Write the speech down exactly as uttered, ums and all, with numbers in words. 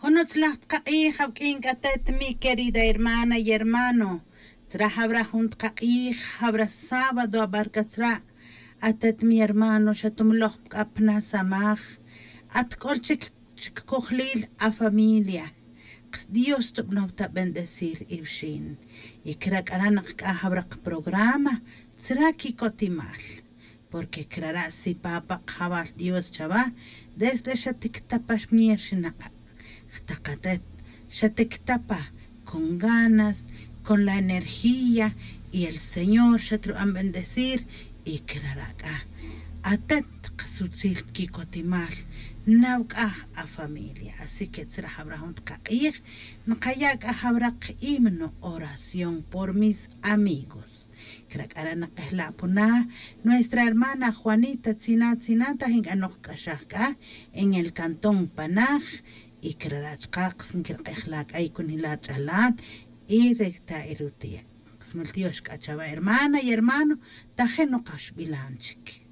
Jun utzlaj tqaq'ij awk'in k'a atet mi querida hermana y hermano. Tzra jawra jun tqaq'ij, jawra sábado abarca tzra'. Atet mi hermano xatumloj k'a pna samaj. Atk'ol chik chik kojlil afamilia. Qas dios tubnow ta bendecir iwxin. Y krak'ara' naq k'a jawra qprograma tzra' kikotimal. Porque krara' si papa qajawal dios chawa desde xatiktapa mier xinaq'a'. Jtaq atet xatiktapa con ganas, con la energía, y el señor xatrub'an bendecir. Y krara' k'a atet qasutzil kikotimal nawk'aj afamilia. Así que tzra jawra jun tqaq'ij nqaya' k'a jawra qhimno oración por mis amigos. Krak'ara' naqejla' puna nuestra hermana juanita tzina tzina taj ink'a noqk'axaj k'a en el cantón panaj. Y krara' chqaq nkirq'ejla' k'a ikunila' rch'alan y rekta' irutiya'. Qsmul tiox k'a chawa hermana y hermano. Taje' noqaxbilan chik.